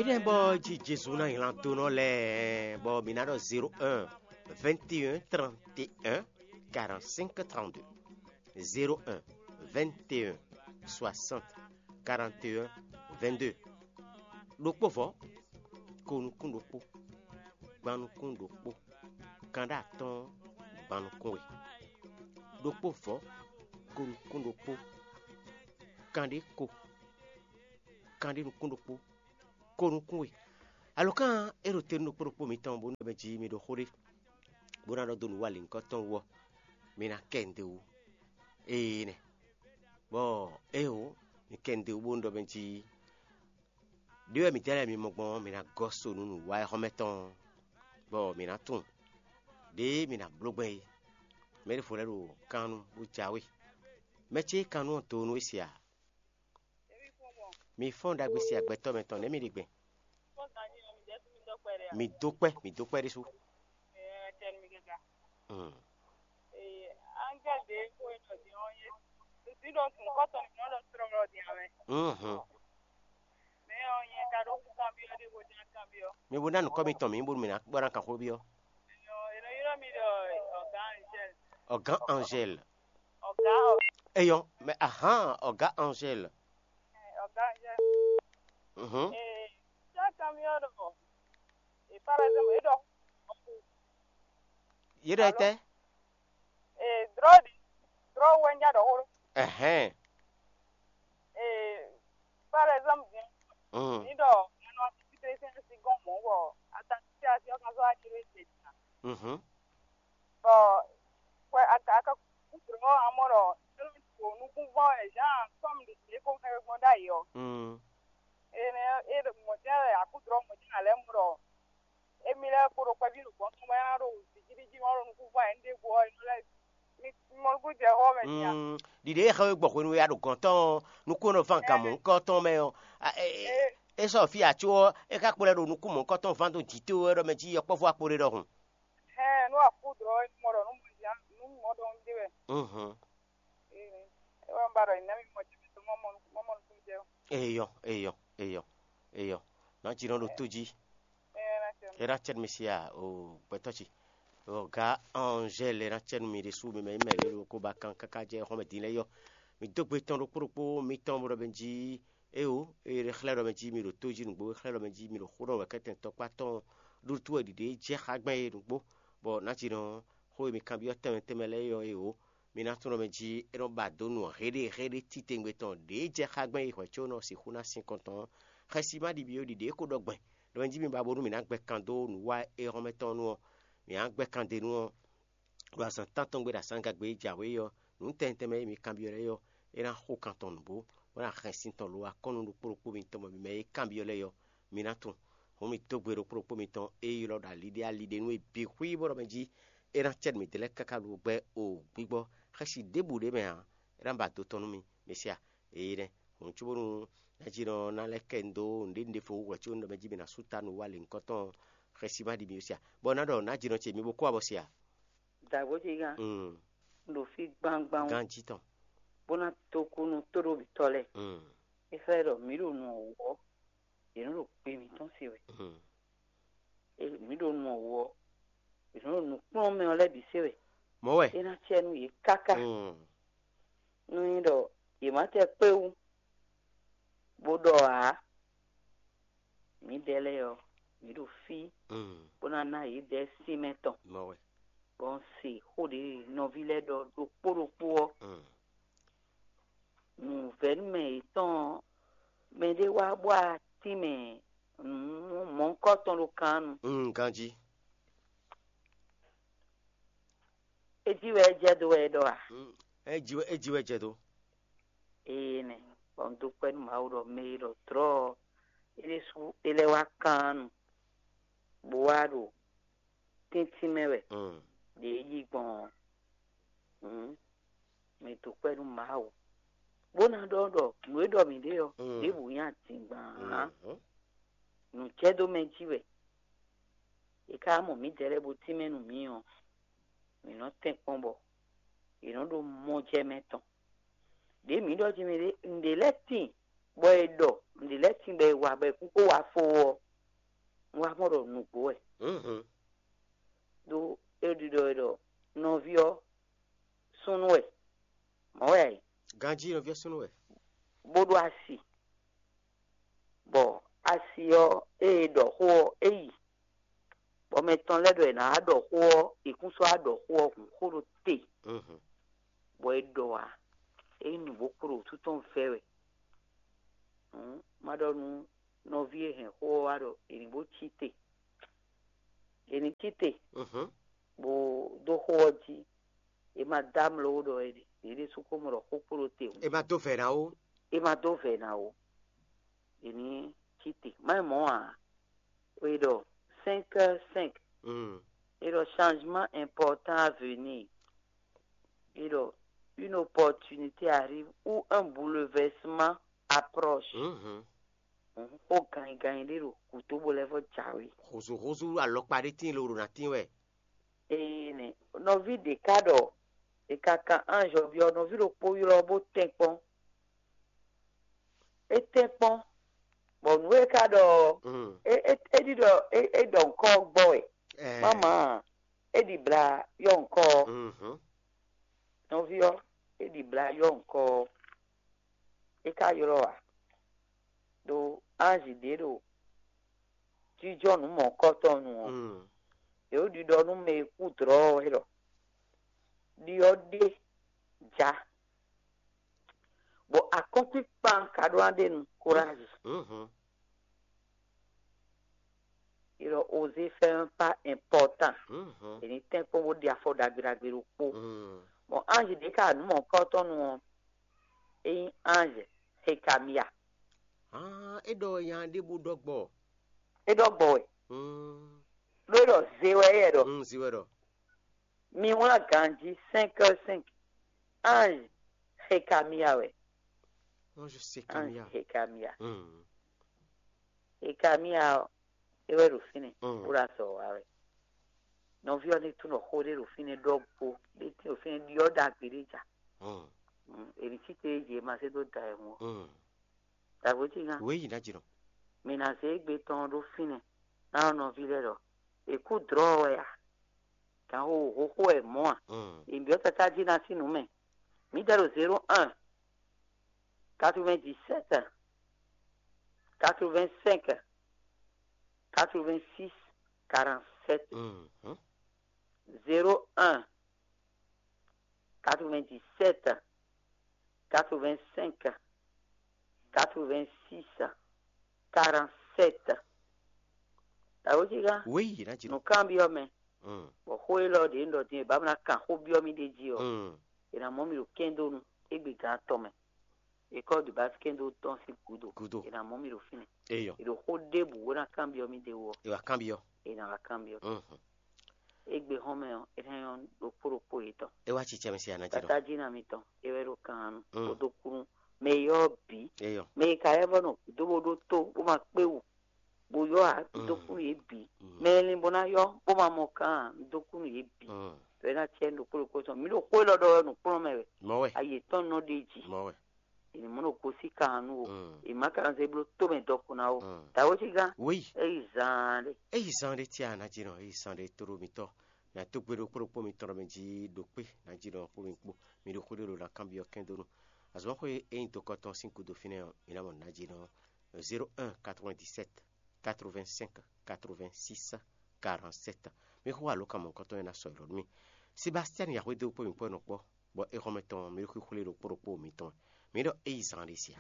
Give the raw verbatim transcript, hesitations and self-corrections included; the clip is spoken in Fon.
Énɛ́ bɔ jí Jezu ná nylá dó nɔ lɛ́ɛ, bɔ mǐ ná ɖɔ zéro un, vingt et un, trente et un, quarante-cinq, trente-deux. Zéro un, vingt et un, soixante, quarante et un, vingt-deux. Ɖokpó vɔ̌, ko nukún ɖokpó, gban nukún ɖokpó, kanɖé atɔ́ɔ́n, gban nukún we. Ɖokpó vɔ̌, ko nukún ɖokpó, kanɖé ko, kanɖé nukún ɖokpó, ko nukún we. Alɔkán e ɖo te nú ɖokpó ɖokpó mitɔn bónú mɛ jí mi ɖo xó ɖé, bó ná ɖɔ dó nǔ wa lǐnkɔ́ tɔn wú ɔ́, mi ná kɛ nǔɖé wú. Ee nɛ. Bɔ éeǒ, mi kɛ nǔɖé wú bónú ɖɔ mɛ jí ɖé wɛ mǐ dɛ́ lɛ́ɛ mi mɔ gbɔn ɔ́, mi ná gɔ́ so nú nǔ wa e xɔ́mɛ tɔn, bɔ mǐ ná tunwun ɖěe mi ná bló gbɛn é. Mɛ ɖěvo lɛ́ɛ ɖo kan nu bó jǎwe. Mɛ ce e kan nu ɔ́ do nú é se a? Mi fɔ́n ɖagbe se agbɛtɔ́ mɛ tɔn nɛ̌ mi ɖe gbɛn? Mi dó kpɛ́, mi dó kpɛ́ ɖésú. Mm. Mhm. Mi bo ná nukɔ́ mitɔn mǐ bónú mǐ ná bɔ ná kan xó byɔ́. Ɔgán Angèle. Eyɔn, mɛ ahan, ɔgá Angèle. Mhm. Yé ɖɔ tɛ? Drɔ́ ɖi, drɔ́ wɛ ń já ɖɔ xó ɖó. Ɛhɛn. Par exemple, din, Mm. Ní ɖɔ mɛ nɔ así títí sín así gɔ́n mɔ̌ bɔ ata títí así ɔ́ kan sɔ́ wá jló é se ná. Mhm. Bɔ hwɛ ata aka kúkúrú ɔ́, amɔ ɖɔ é nɔ to nukúnvɔ́ wɛ Jean kɔ́mu ɖě ko xɛ gbɔn ɖ'ayǐ ɔ́. Mm. Énɛ́ é ɖo mɔ̌ jɛ́n wɛ akúdrɔ́ mɔ̌ jɛ́n ná lɛ́ mɔ ɖɔ émí lɛ́ɛ kpo ɖo kpɛví ɖo gɔ̌n tɔn mɛ ná ɖo vǐjíví jí ma ɖo nukúnvɔ́ ɛ ɖěvo ɔ́, é nɔ lɛ́ mi mɔ nukún jɛ xɔ mɛ nya. Mm, ɖiɖe e xɛ we gbɔ hwenu e a ɖo gɔ̌n tɔn ɔ́, nukún e nɔ ván gan mɔ̌hunkɔ tɔn mɛ ɔ́, a, e, e, e sɔ fí a có ɔ́, é ka kplɔ́ ɛ ɖo nukún mɔ̌hunkɔ tɔn ván dó jǐ towe wɛ ɖɔ mɛ jí yɔkpɔ́vú akpo ɖé ɖɔhun. Hɛn, nú akúdrɔ́ é mɔ ɖɔ nú mɔ nya nú mɔ ɖɔ un ɖe wɛ. Mhm. Ee, é wɛ un ba ɖɔ nyǐ ná mi mɔ jɛ mi tɔn mɔ mɔ nukún jɛ. Eyɔ, eyɔ, eyɔ, eyɔ. Nǎ jǐ nɔ ɖo tó jí. Ena cɛn mi sia o gbɛtɔ ci. O ga Angèle ena cɛn mi ɖe su mi mɛ mɛ yelo ko ba kan kaka jɛ xɔmɛ din lɛ yɔ. Mi dó gbe tɔn ɖokpó ɖokpó mi tɔn bo ɖɔ bɛ jí. Eo, e ɖe xlɛ́ ɖɔ mɛ jí mi ɖo tó jí nǔgbó, e xlɛ́ ɖɔ mɛ jí mi ɖo xó ɖɔ wɛ kɛtɛn tɔkpá tɔn ɖó tú wɛ ɖiɖe jɛ xá gbɛn e nǔgbó. Bɔ nǎ jǐ nɔ xó e mi kanbyɔ́ tɛnmɛ tɛnmɛ lɛ́ɛ yɔ e o. Mi ná tunwun ɖɔ mɛ jí é nɔ ba dó nǔ héɖéhéɖé titewungbe tɔn ɖě jɛ xá gbɛn e hwɛ̌ có nɔ sixú ná sin kɔn tɔn ɔ́. Xɛsi ma ɖi byɔ́ ɖiɖe é ko ɖɔ gbɛn ɖɔ mɛ jí mi ba bónú mǐ ná gbɛ kan dó nǔ wa éhɔ́mɛ tɔn nu ɔ́, mǐ ná gbɛ kan d'é nu ɔ́, ɖo azǎn tántɔn gbe ɖo asǎngagbe e jǎwe ɔ́, nǔ tɛnmɛ tɛnmɛ e mi kanbyɔ́ lɛ́ɛ ɔ́, é ná xo kan tɔn nǔgbó, bó ná hɛn sin tɔn lo akɔ́nnu ɖokpó ɖokpó mitɔn bɔ mi mɛ e kanbyɔ́ lɛ́ɛ ɔ́, mi ná tunwun. Hǔn mi dó gbe ɖokpó ɖokpó mitɔn e ylɔ́ ɖo ali ɖé ali ɖé nú é bǐ xwí bó ɖɔ mɛ jí é ná cɛ́ nǔ mitɔn lɛ́ɛ káká ɖo gbɛ́ o gbígbɔ xɛsi ɖěbǔ ɖé mɛ ǎ, é ná ba do tɔn nú mi, mi se a? Eyi nɛ́. Hǔn cóbónú ná jí nɔ ná lɛ́ kɛ un dó nǔɖé nǔɖé fo wɛ có un ɖɔ mɛ jí mi ná sú ta nǔ wa lěhunkɔtɔn xɛsi ma ɖi mi se a? Bɔ ná ɖɔ ná jí nɔ ce mi bo kó abɔ se a? Dǎgbó ce gán, Mm. Un ɖo fí gbangban, Ganjí tɔn. Bó ná tó kú nú tóɖóbítɔ́ lɛ́ɛ. Mm. É xlɛ́ ɖɔ mǐ ɖo nu ɔ́ wú ɔ́, yě nɔ ɖo gbe mǐtɔn se wɛ. Mm. Mǐ ɖo nu ɔ́ wú ɔ́, yě nɔ ɖo nǔkplɔ́nmɛ ɔ́ lɛ́ɛ bǐ se wɛ. Mɔ̌ wɛ. É ná cɛ nú yě káká. Mm. Nú nyí ɖɔ yě má tɛ kpé wú, bó ɖɔ ǎ, mǐdɛɛ lɛ́ɛ ɔ́, mǐ ɖo fí, Mm. Bó ná ná yědɛɛ sinmɛ tɔn. Mɔ̌ wɛ. Bɔ un se xó ɖě nɔví lɛ́ɛ ɖɔ ɖokpó ɖokpó ɔ́. Mm. Nǔvɛ́númɛ yětɔn ɔ́, mɛɖé wá bɔ atínmɛ nǔ mɔ̌hunkɔ tɔn ɖo kan nu. Mm, ganjí. É jí wɛ é jɛ dó wɛ é ɖɔ a? Mm, é jí wɛ é jí wɛ jɛ dó. Ee nɛ, bɔ un dó kpɛ́ nú Mawu ɖɔ mɛ e ɖɔ dlɔ̌ ɔ́, é ɖésú é lɛ́ wá kan nu, bó wá ɖo tíntín mɛ wɛ. Mm. Ɖě é yi gbɔn ɔ́, hǔn mi dó kpɛ́ nú Mawu, bó ná ɖɔ ɖɔ nǔ e ɖɔ mǐ ɖe ɔ́, Mm. Ɖěbǔ nyí adǐngban ǎ. Mhm. Nǔ jɛ dó mɛ jí wɛ. È ka mɔ mǐdɛɛ lɛ́ɛ bó tínmɛ nú mǐ ɔ́, mǐ nɔ tɛ́n kpɔ́n bɔ è nɔ ɖo mɔjɛmɛ tɔn. Ɖě mǐ ɖɔ jí mɛ ɖé nǔɖé lɛ́ɛ tíin bɔ è ɖɔ nǔɖé lɛ́ɛ tíngbɛ e wa bɔ è kún kó wá fó ɔ́, un wá mɔ ɖɔ nǔgbó wɛ. Mhm. Ɖó é ɖiɖɔ e ɖɔ nɔví ɔ́ súnnu wɛ, mɔ̌ wɛ ǎ é, Ganjí nɔví ɔ́ súnnu wɛ. Bó ɖó asi. Bɔ asi ɔ́, ée è ɖɔ xó ɔ́, é yi. Bɔ mɛ tɔn lɛ́ɛ ɖɔ è nǎ wá ɖɔ xó ɔ́, è kún sɔ́ wá ɖɔ xó ɔ́ hǔn xó ɖó te, Mhm. bɔ é ɖɔ ǎ. É nyí nǔ bó kpo ɖo wútu tɔn vɛ́ wɛ. Hǔn má ɖɔ nú nɔví e hɛn xó ɔ́ wá ɖɔ è nǐ bó cí te. È nǐ cí te, Mhm. bó dó xó ɔ́ jí. È ma dó amlɔ ó ɖɔ è ɖe, yě ɖésú ko mɔ ɖɔ xó kpo ɖó te hǔn. È ma dó vɛ̌ ná ó. È ma dó vɛ̌ ná ó. È nǐ cí te. Má nyí mɔ̌ ǎ. È ɖɔ cinq heures cinq. Mm. È ɖɔ changement important à venir. È ɖɔ une opportunité arrive ou un bouleversement approche. Mhm. Xó ganyiganyi ɖé ɖo gǔdo bó lɛ́ vɔ jǎwe. Húzúhúzú alɔkpa ɖé tíin lǒ ɖo ná tín wɛ. Ee nɛ, nɔví ɖě ká ɖɔ è ka kan ange ɔ́ byɔ́ nɔví ɖokpó ylɔ́ bó tɛ́nkpɔ́n. É tɛ́nkpɔ́n, bɔ nǔ e é ka ɖɔ ɔ́, Mm. é é é ɖi ɖɔ é é ɖɔ ŋkɔ ɔ́ gbɔ wɛ. Ɛɛ. Mama, é ɖi bla yɔ ŋkɔ ɔ́. Mhm. Nɔví ɔ́, é ɖi bla yɔ ŋkɔ ɔ́. É ka ylɔ́ ǎ. Ɖó anzi ɖě ɖo jínjɔ́n nǔ mɔ̌hunkɔtɔn nu ɔ́, Mm. yě ɖo ɖiɖɔ nú mɛ e kú dlɔ̌ ɔ́ wɛ ɖɔ ɖiɖɔ ɖé ja, bɔ akɔ́nkpinkpan ka ɖó ná ɖe nu kórázi. Mhm. È ɖɔ osé fɛ́ un pas important. Mhm. È ní tɛ́nkpɔ́n bó ɖi afɔ ɖagbe ɖagbe ɖokpó. Mm. Bɔ anzi ɖě ka nǔ mɔ̌hunkɔtɔn nu ɔ́, é nyí anzi Xekamia. Ah, é ɖɔ nya ɖěbǔ ɖɔ gbɔ. É ɖɔ gbɔ wɛ. Mm. Ɖó é ɖɔ ze wɛ é ɖɔ. Mm, zi wɛ ɖɔ. Mi wlán ganjí cinq heures cinq. Ange Xekamia wɛ. Non, je sais Ange Camilla. Xekamia. Mm. Xekamia ɔ́, é wɛ ɖo fínɛ́. Mm. Bó ɖo azɔ̌ wa wɛ. Nɔví ɔ́ ní tún nɔ xó ɖé ɖo fínɛ́ ɖɔgbó. Ɖé tín ɖo fínɛ́ ɖyɔ́ ɖagbe ɖé ja. Mm. Mm, è nǐ cí te é jǐ é ma zé dó da ɛ hun ɔ́. Mm. Dǎgbó ce nya. Oui, ná jìnnà. Mi ná zé égbé tɔn ɖó fínɛ́ ná nɔví lɛ́ɛ ɖɔ è kú dlɔ̌ wɛ a? Gǎn xo xóxó wɛ mɔ̌ a? Mm. È byɔ́ tatá jí ná sín nǔ mɛ. Mǐ dɛ ɖo zéro un, quatre-vingt-dix-sept, quatre-vingt-cinq, quatre-vingt-six, quarante-sept. Mm. Zéro un, quatre-vingt-dix-sept, quatre-vingt-cinq, quatre-vingt-six, quarante-sept. Dǎgbó ce ká? Oui, ná jìnnà. Nǔ kanbyɔ́ mɛ. Mm. Bɔ xó élɔ́ ɖě un ɖɔ din e bǎ mɔ ná kan xó byɔ́ mì ɖ'é jí ɔ́, Mm. è nǎ mɔ mì ɖo kɛ́ndónu égbé gán atɔn mɛ. École de base kɛ́ndó tɔn sín gǔdo. Gúdo. È nǎ mɔ mì ɖo fínɛ́. Eyɔ. È ɖo xó ɖěbǔ bó ná kanbyɔ́ mì ɖ'é wú ɔ́, È wá kanbyɔ́. È nǎ wá kanbyɔ́. Mhm. Égbé hɔn mɛ ɔ́, é ná nyɔ́ ɖokpó ɖokpó yětɔn. É wá cicɛ mi se aná jí nɔ. Tata jí ná mitɔn, é wɛ ɖo kan nu. Mm. Kódó kúnú. Mɛ yɔ́ bǐ. Eyɔ. Mɛ yi ka yɛ vɔ nɔ gǔdo bó ɖó tó bó ma kpé wú. Bó yɔ́ ǎ, Mm. dó kúnú yě bǐ. Mm. Mɛ e lin bó ná yɔ́ bó ma mɔ kan ǎ, dó kúnú yě bǐ. Mm. Tɔ é ná cɛ ɖokpó ɖokpó tɔn. Mǐ ɖo xó élɔ́ ɖɔ wɛ nǔkplɔ́nmɛ wɛ. Mɔ̌ wɛ. Ayi yětɔn nɔ ɖe jí. Mɔ̌ wɛ. È nǐ mɔ ɖo gosí kan nu o. Mm. È má ka nɔ zé bló tómɛ dɔkun ná o. Mm. Dǎwó cí gán. Wéyi. É yi zaan ɖé. É yi zan ɖé tia ná jí nɔ, é yi zan ɖé tóɖó mitɔn. Mǐ ató gbe ɖokpó ɖokpó mitɔn ɖɔ mɛ jí ɖo kpé ná jí nɔ kpó mi kpó. Mi ɖo xó ɖé ɖo ná kanbyɔ́ kɛ́ndónú. Azɔ̌ xwe é nyí dokɔ tɔn sín gúdo fínɛ́ ɔ́, mi ná mɔ nǎ jí nɔ zéro un quatre-vingt-dix-sept quatre-vingt-cinq quatre-vingt-six quarante-sept. Mi xo alǒkan mɔ̌hunkɔtɔn e ná sɔ́ yi lɔ nú mì. Sebastian Yahweh dó kpó mi kpó nɔ kpɔ́, bɔ é xɔ́mɛ tɔn mi ɖo xwíxwlé ɖokpó ɖokpó mitɔn. Mi ɖɔ é yi zan ɖé sia.